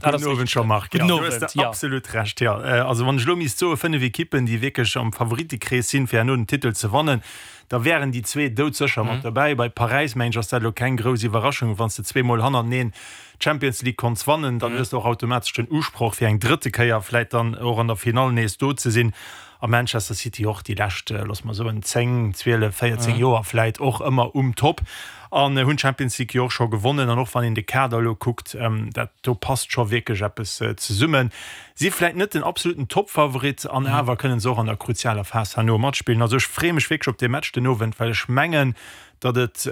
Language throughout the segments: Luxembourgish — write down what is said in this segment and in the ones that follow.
Gudden Owend Jean-Marc. Gudden Owend, jo. Du hues absolut Recht, jo. Also wann ech elo misst soe 5 Ekippen, déi wierklech am Favoritenkrees sinn, fir herno den Titel ze wannen, da wären déi zwee doudsécher mat dobäi. Bei Paräis, mengen ech, ass dat elo keng grouss Iwwerraschung. Wann s de zweemol hannerteneen d'Champions League konns wannen, dann hues de och automatesch den Usproch, fir eng drëtte Kéier vläit dann och an der Finall nees do ze sinn. A Manchester City och déi lescht, loosse mer soen, 10, 12, 14 Joer vläit och ëmmer um Top an hunn d'Champions League jo och scho gewonnen. An och wann een de Kader elo kuckt, dat do passt scho wierklech eppes zesummen. Si vläit net den absoluten Toppfavorit an awer kënne se och an der kruzialer Phas herno matspillen. Also ech freeë mech wierklech op dee Match den Owend, well ech mengen, datt et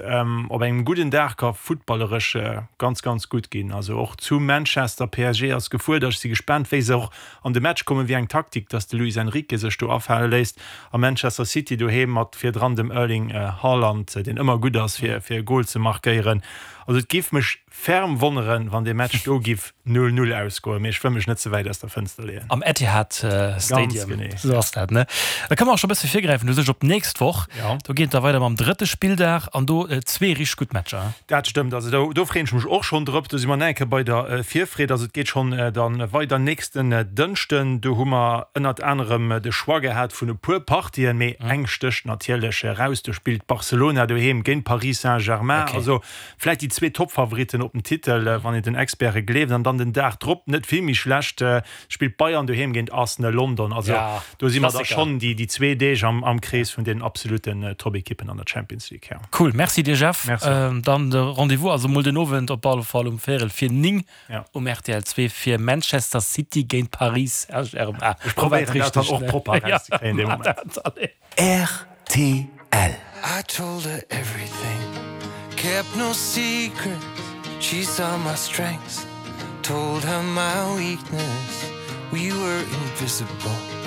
op engem gudden Dag ka futtballeresch ganz, ganz gutt ginn. Also och zu Manchester, PSG ass gefuerdert. Ech si gespaant, wéi se och an de Match kommen, wéi eng Taktik datt de Luis Enrique sech do afale léisst. A Manchester City doheem mat virdran dem Erling Haaland, deen ëmmer gutt ass, fir e Gol ze markéieren. Also et géif mech Ferm wonneren wann dee Match do giff 0, 0 ausgoen, mee ech wëll mech net ze wäit aus der Fënster leeën. Am Etihad Stadium, esou ass dat, ne? Da kënne mer och scho bësse virgräifen u sech op d'nächst Woch. Do geet et da weider mam drëtte Spilldag an do zwee richteg gutt Matcher. Dat stëmmt, also do do freeën ech mech och schonn drop. Do si mer nach eng Kéier bei der Virfreed. Also et geet schonn da weider nächsten Dënschden. Do hu mer ënnert anerem de Choix gehat vun e puer Partien, mee eng stécht natierlech eraus, do spillt Barcelona doheem géint Paris Saint-Germain. Also Vläit déi zwee Toppfavoritten op den Titel, wann een den Experte gleeft. An dann den Dag drop, net vill méi schlecht, spillt Bayern doheem géint Arsenal London. Also do si mer da schonn déi zwee Deeg am Krees vun den absolutten Toppekippen an der Champions League. Cool, Merci dir Jeff. Dann de Rendez-vous also mol den Owend op alle Fall um véierel vir 9 um rtl 2 fir Manchester City géint Paris Saint-Germain. Ech probéieren dat dann och propper erauszekréien dee Moment. Rtl. I told her everything, kept no secrets She saw my strengths, told her my weakness We were invisible.